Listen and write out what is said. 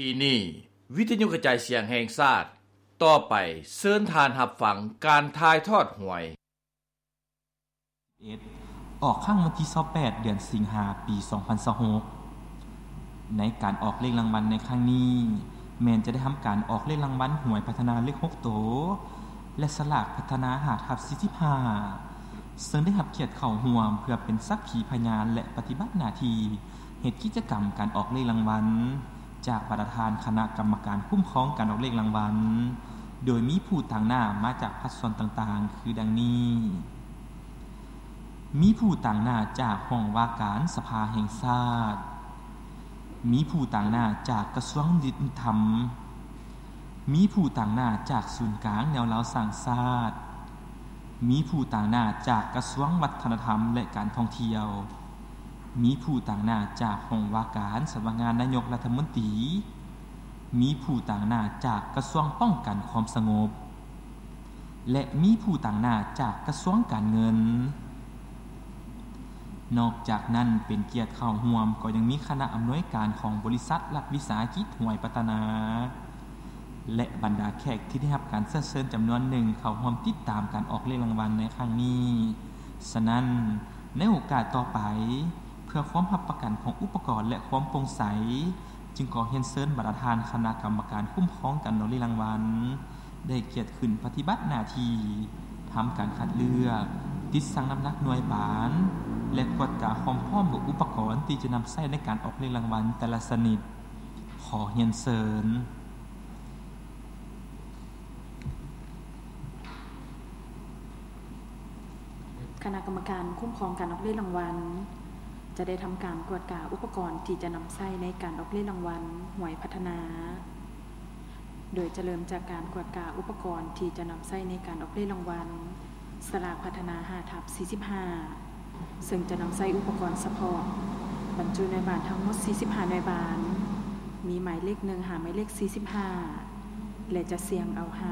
ທີ່ນີ້ ວິທະຍຸກະຈາຍສຽງແຫ່ງຊາດ, ຕໍ່ໄປເຊີນທ່ານຮັບຟັງການຖ່າຍທອດຫວຍ. ອອກຄັ້ງວັນທີຊາວແປດ ເດືອນສິງຫາ ປີສອງພັນຊາວຫົກ. ໃນການອອກເລກລາງວັນໃນຄັ້ງນີ້ ແມ່ນຈະໄດ້ທຳການອອກເລກລາງວັນຫວຍພັດທະນາເລກຫົກໂຕ ແລະ ສະຫຼາກພັດທະນາຫ້າທັບສີ່ສິບຫ້າ ເຊິ່ງໄດ້ຮັບກຽດເຂົ້າຮ່ວມເພື່ອເປັນສັກຂີພະຍານ ແລະ ປະຕິບັດໜ້າທີ່ເຮັດກິດຈະກຳການອອກເລກລາງວັນ ຈາກບັນດາທ່ານຄະນະກຳມະການຄຸ້ມຄອງການອອກເລກລາງວັນ, ໂດຍມີຜູ້ຕາງໜ້າມາຈາກພາກສ່ວນຕ່າງໆ ຄືດັ່ງນີ້. ມີຜູ້ຕາງໜ້າຈາກຫ້ອງວ່າການສະພາແຫ່ງຊາດ, ມີຜູ້ຕາງໜ້າຈາກກະຊວງຍຸຕິທຳ, ມີຜູ້ຕາງໜ້າຈາກສູນກາງແນວລາວສ້າງຊາດ, ມີຜູ້ຕາງໜ້າຈາກກະຊວງວັດທະນະທຳ ແລະ ການທ່ອງທ່ຽວ, ມີຜູ້ຕາງໜ້າຈາກຫ້ອງວ່າການສຳນັກງານນາຍົກລັດຖະມົນຕີ, ມີຜູ້ຕາງໜ້າຈາກກະຊວງປ້ອງກັນຄວາມສະຫງົບ ແລະ ມີຜູ້ຕາງໜ້າຈາກກະຊວງການເງິນ. ນອກຈາກນັ້ນ ເປັນກຽດເຂົ້າຮ່ວມກໍຍັງມີຄະນະອຳນວຍການຂອງບໍລິສັດລັດວິສາຫະກິດຫວຍພັດທະນາ ແລະ ບັນດາແຂກທີ່ໄດ້ຮັບການເຊື້ອເຊີນຈຳນວນໜຶ່ງເຂົ້າຮ່ວມຕິດຕາມການອອກເລກລາງວັນໃນຄັ້ງນີ້. ສະນັ້ນ, ໃນໂອກາດຕໍ່ໄປ, ເພື່ອຄວາມຮັບປະກັນຂອງອຸປະກອນ ແລະ ຄວາມໂປ່ງໃສ, ຈຶ່ງຂໍຮຽນເຊີນບັນດາທ່ານຄະນະກຳມະການຄຸ້ມຄອງການອອກເລກລາງວັນ ໄດ້ກຽດຂຶ້ນປະຕິບັດໜ້າທີ່ ທຳການຄັດເລືອກ, ຕິດຊັ່ງນ້ຳໜັກໜ່ວຍບານ ແລະ ກວດກາຄວາມພ້ອມຂອງອຸປະກອນທີ່ຈະນຳໃຊ້ໃນການອອກເລກລາງວັນແຕ່ລະຊະນິດ. ຂໍຮຽນເຊີນ. ຄະນະກຳມະການຄຸ້ມຄອງການອອກເລກລາງວັນ ຈະໄດ້ທຳການກວດກາອຸປະກອນທີ່ຈະນຳໃຊ້ໃນການອອກເລກລາງວັນຫວຍພັດທະນາ, ໂດຍຈະເລີ່ມຈາກການກວດກາອຸປະກອນທີ່ຈະນຳໃຊ້ໃນການອອກເລກລາງວັນສະຫຼາກພັດທະນາຫ້າທັບສີ່ສິບຫ້າ ເຊິ່ງຈະນຳໃຊ້ອຸປະກອນສະເພາະ ບັນຈຸໜ່ວຍບານທັງໝົດສີ່ສິບຫ້າໜ່ວຍບານ, ມີໝາຍເລກໜຶ່ງຫາໝາຍເລກສີ່ສິບຫ້າ ແລະ ຈະສ່ຽງເອົາຫ້າ